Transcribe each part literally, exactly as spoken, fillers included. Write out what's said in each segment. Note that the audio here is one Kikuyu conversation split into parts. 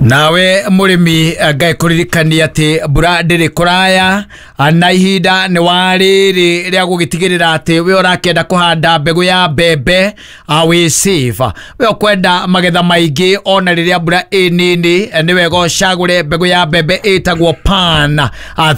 Nawe mũrĩmi, ngai kũririkania atĩ mbura ndĩrĩ kũraya na ihinda nĩ wa rĩrĩ rĩa gũgĩtigĩrĩra atĩ we ũrakĩenda kũhanda mbegũ ya mbembe wĩ safe. We ũkwenda magetha maingĩ ona rĩrĩa mbura ĩ nini, nĩ wega ũcagũre mbegũ ya mbembe ĩtagwo Pan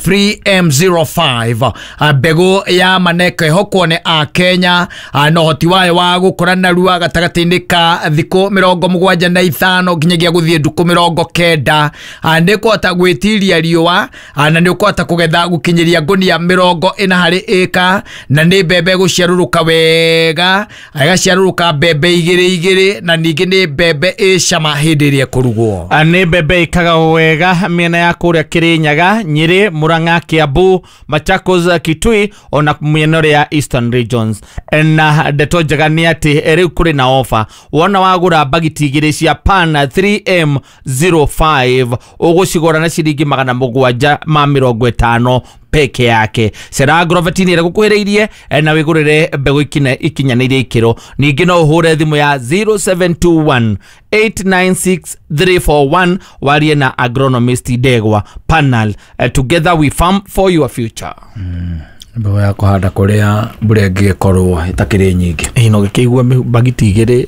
three M zero five, mbegũ ya maneko ĩhokwo nĩ a Kenya na ũhoti wayo wa gũkũra narua gatagatĩ-inĩ ka thikũ mĩrongo mũgwanja na ithano nginyagia gũthiĩ ndukũ mĩrongo kenda. Nĩ kũhota gwĩtiria riũa na nĩ ũkũhota kũgetha gũkinyĩria ngũnia mĩrongo ĩna harĩ ĩka, na nĩ mbembe gũciarũrũka wega, ĩgaciarũrũka mbembe igĩrĩ igĩrĩ, na ningĩ nĩ mbembe ĩ cama hĩndĩ ĩrĩa ĩkũrugwo. Nĩ mbembe ĩkaga wega mĩena ya kũrĩa Kĩrĩnyaga, Nyĩrĩ, Murang'a, Kiambu, Machakos, Kitui ona mĩena ĩrĩa ya Eastern Regions. Na ndeto njega nĩ atĩ rĩu kũrĩ na ofa. Wona wagũra mbagiti igĩrĩ cia Pan three M zero five, ũgũcigũra na ciringi magana mũgwanja ma mĩrongo ĩtano peke yake. Cera agrovet-inĩ ĩrĩa gũkuhĩrĩirie na wĩgũrĩre mbegũ ikinyanĩirie ikĩro. Ningĩ no ũhũre thimũ ya zero seven two one eight nine six three four one warie na agronomist Ndegwa. Panel, uh, together we farm for your future. Mbegũ ya kũhanda kũrĩa mbura ĩngĩgĩkorwo ĩtakĩrĩ nyingĩ. Ĩ no gĩkĩigua mbagiti igĩrĩ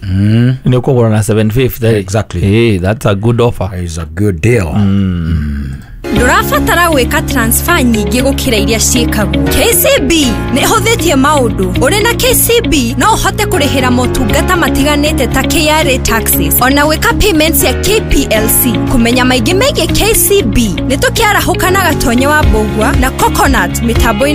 nĩ ũkũgũra na seven fifty. Exactly. Hey, that's a good offer. Is a good deal. Ndũrabatara gwĩka transfer nyingĩ gũkĩra iria ciĩkagwo. K C B nĩ ĩhũthĩtie maũndũ. Ũrĩ na K C B no ũhote kũrĩhĩra motungata matiganĩte ta K R A taxes ona gwĩka payments ya K P L C. Kũmenya maingĩ megiĩ K C B, nĩ tũkĩarahũka na Gatonye wa Mbũgua na Coconut mĩtambo-inĩ.